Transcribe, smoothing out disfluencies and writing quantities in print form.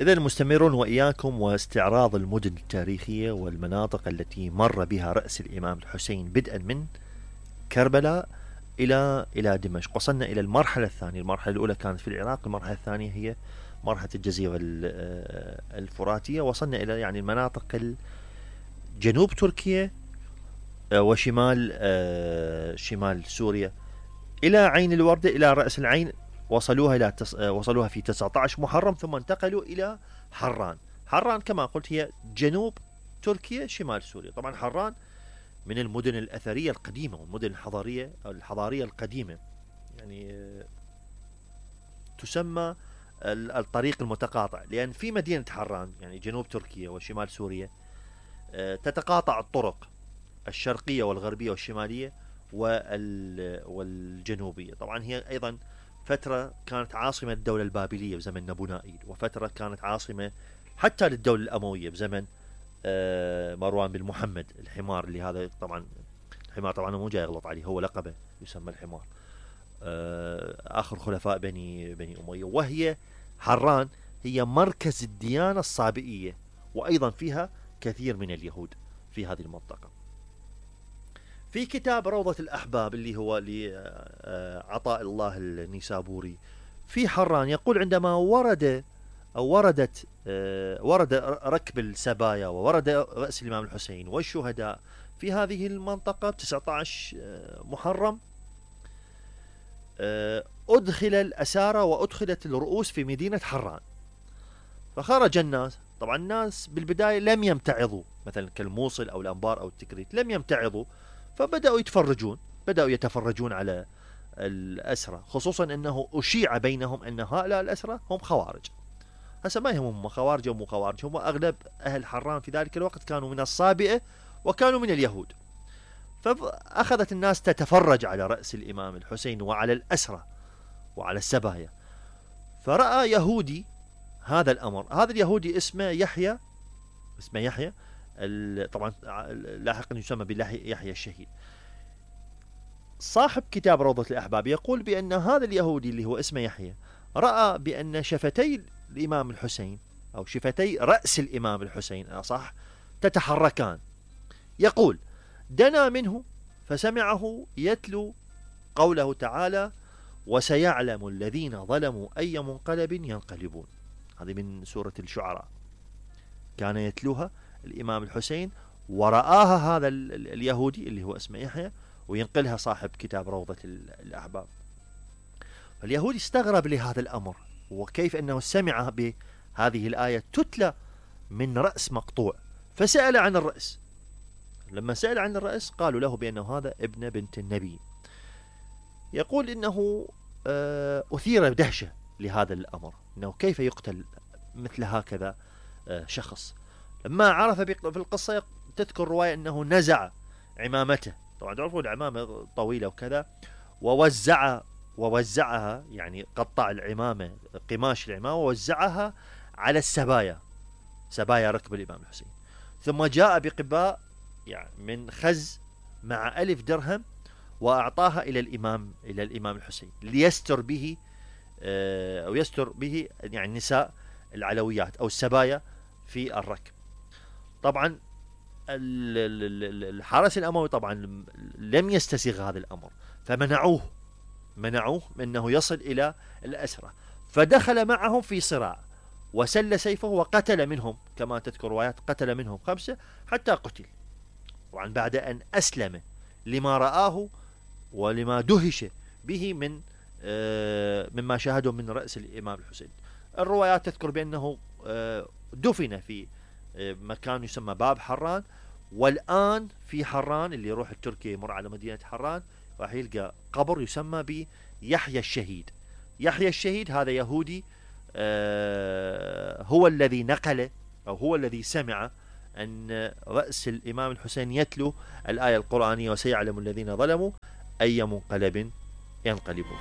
إذا مستمرون وإياكم واستعراض المدن التاريخية والمناطق التي مر بها رأس الإمام الحسين بدءا من كربلاء إلى دمشق. وصلنا إلى المرحلة الثانية. المرحلة الأولى كانت في العراق، المرحلة الثانية هي مرحلة الجزيرة الفراتية. وصلنا إلى يعني المناطق جنوب تركيا وشمال شمال سوريا إلى عين الوردة، إلى رأس العين. وصلوها في 19 محرم، ثم انتقلوا إلى حران. حران كما قلت هي جنوب تركيا شمال سوريا. طبعا حران من المدن الأثرية القديمة والمدن الحضارية القديمة، يعني تسمى الطريق المتقاطع، لأن في مدينة حران يعني جنوب تركيا وشمال سوريا تتقاطع الطرق الشرقية والغربية والشمالية والجنوبية. طبعا هي أيضا فترة كانت عاصمة الدولة البابلية بزمن نبونائيل، وفترة كانت عاصمة حتى للدولة الأموية بزمن مروان بن محمد الحمار، اللي هذا طبعا الحمار طبعا مو جاي يغلط عليه، هو لقبه يسمى الحمار، آخر خلفاء بني أمية. وهي حران هي مركز الديانة الصابئية، وأيضا فيها كثير من اليهود في هذه المنطقة. في كتاب روضة الأحباب اللي هو لعطاء الله النيسابوري في حران يقول عندما ورد ركب السبايا وورد رأس الإمام الحسين والشهداء في هذه المنطقة 19 محرم، أدخل الأسارى وأدخلت الرؤوس في مدينة حران. فخرج الناس، طبعا الناس بالبداية لم يمتعظوا، مثلا كالموصل أو الأنبار أو التكريت لم يمتعظوا، فبدأوا يتفرجون على الأسرى، خصوصا أنه أشيع بينهم أن هؤلاء الأسرى هم خوارج. هسه ما يهمهم خوارج أو مو خوارج، هم أغلب أهل حران في ذلك الوقت كانوا من الصابئة وكانوا من اليهود. فأخذت الناس تتفرج على رأس الإمام الحسين وعلى الأسرى وعلى السبايا. فرأى يهودي هذا الأمر، هذا اليهودي اسمه يحيى، طبعا لاحقا يسمى بيحيى الشهيد. صاحب كتاب روضة الأحباب يقول بأن هذا اليهودي اللي هو اسمه يحيى رأى بأن شفتي الإمام الحسين أو شفتي رأس الإمام الحسين أصح تتحركان. يقول دنا منه فسمعه يتلو قوله تعالى: وسيعلم الذين ظلموا أي منقلب ينقلبون. هذه من سورة الشعراء، كان يتلوها الإمام الحسين ورآها هذا اليهودي اللي هو اسمه يحيى وينقلها صاحب كتاب روضة الأحباب. فاليهودي استغرب لهذا الأمر، وكيف أنه سمع بهذه الآية تتلى من رأس مقطوع، فسأل عن الرأس. لما سأل عن الرأس قالوا له بأنه هذا ابن بنت النبي. يقول إنه أثير دهشة لهذا الأمر، إنه كيف يقتل مثل هكذا شخص. لما عرف في القصة تذكر رواية أنه نزع عمامته، طبعا تعرفوا العمامة طويلة وكذا، ووزعها يعني قطع العمامة، قماش العمامة ووزعها على السبايا، سبايا ركب الإمام الحسين. ثم جاء بقباء يعني من خز مع 1000 درهم وأعطاها إلى الإمام الحسين ليستر به أو يستر به يعني نساء العلويات أو السبايا في الركب. طبعا الحرس الأموي طبعا لم يستسيغ هذا الأمر، فمنعوه أنه يصل إلى الأسرى، فدخل معهم في صراع وسل سيفه وقتل منهم، كما تذكر روايات قتل منهم 5 حتى قتل. طبعا بعد أن أسلم لما رآه ولما دهش به مما شاهده من رأس الإمام الحسين. الروايات تذكر بأنه دفن في مكان يسمى باب حران، والآن في حران اللي يروح التركي يمر على مدينة حران راح يلقى قبر يسمى بيحيى الشهيد. يحيى الشهيد هذا يهودي هو الذي نقل أو هو الذي سمع أن رأس الإمام الحسين يتلو الآية القرآنية: وسيعلم الذين ظلموا أي منقلب ينقلبون.